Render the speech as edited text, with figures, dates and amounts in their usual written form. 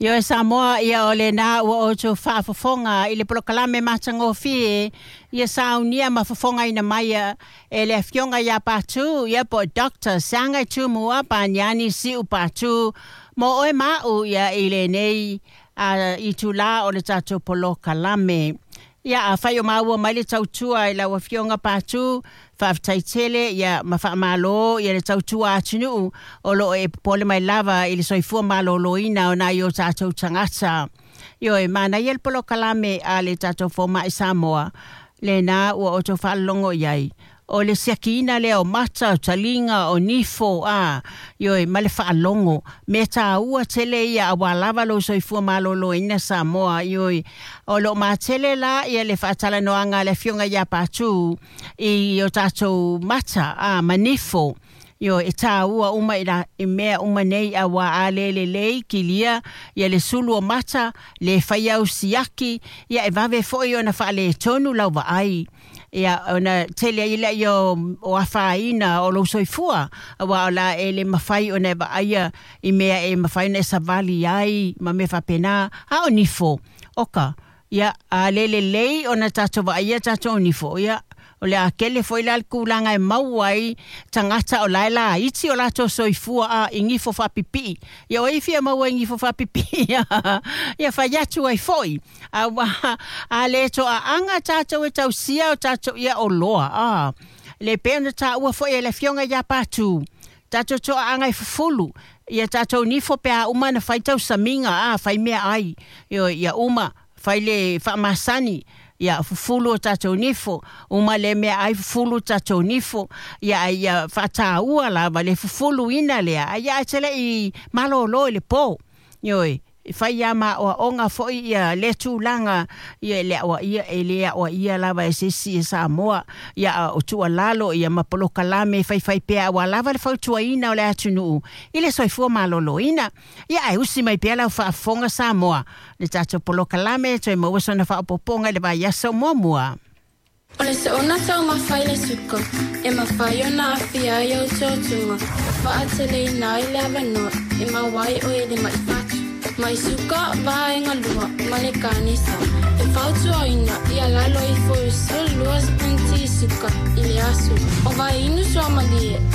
Ioe Samoa, ia o lena ua outou faafofoga i le polokalame matagofie ia saunia ma fofogaina mai e le Afioga ia Patu, ia po o Doctor Seagaitūmua Paniani Siu Patu mo oe ma a'u ia i lenei itulā o le tatou polokalame. Ia, afai o maua mai le tautua i lau Afioga Patu, faafetai tele ia ma faamalo ia le tautua atunuu o loo e popole mai lava i le soifua malōlōina o nai o tatou tagata. Ioe, manaia le polokalame a le tatou Fomai Samoa lena ua outou faalogo i ai. O le siakiina lea o mata, o taliga, o nifo, a, ioe, ma le faalogo. Mea tāua tele ia auā lava lou soifua malōlōina Samoa, ioe. O loo matele la ia le faatalanoaga a le Afioga ia Patu i o tatou mata, a, ma nifo. Ioe, e tāua uma i, la, i mea uma nei auā a le lelei kilia ia le sulu o mata, le fai au siaki, ia e vave foi ona faaletonu lau vaai. Ia, ona tele ai lea o afaina o lou soifua, auā o la e le mafai ona e vaaia i mea e mafai ona e savali ai ma mea faapena. A o nifo, oka, ia, a le lelei ona tatou vaaia tatou nifo, ia, o le a kele foi la le kūlaga e maua ai tagata o la e laiti o latou soifua a i nifo faapipii. Ia o ai e fia maua i nifo faapipii? Ia fai atu ai foi. Auā a le toaaga tatou e tausia o tatou ia oloa a le pei ona taua foi e le Afioga ia Patu tatou toaaga e fufulu ia tatou nifo pe a uma ona fai tausamiga a fai meaai. Ioe, ia uma fai le faamasani, ia fufulu o tatou nifo, uma le meaai fufulu tatou nifo, ia ia faataua lava le fufuluina lea, ai ae te lei malōlō i le pō. Ioe, e fai ia ma aoaoga foi ia lea tulaga ia le aoaia e le aoaia lava e se isi e Samoa ia o tuualalo ia ma polokalame faifai pea auā lava le fautuaina o le atunuu i le soifua malōlōina. Ia ae usi mai pea lau faafofoga Samoa le tatou polokalame toe maua sona faaopoopoga i le vaiaso muamua. O le soona taumafa i le suka, e mafai ona aafia ai ou totoga, ma faateleina ai le avanoa e maua ai oe i le mai fatu, mai suka, vaega lua, ma le kanesa. E fautuaina ia lalo ifo i le 12 sipuniti suka i le aso. O vai inu suamalie.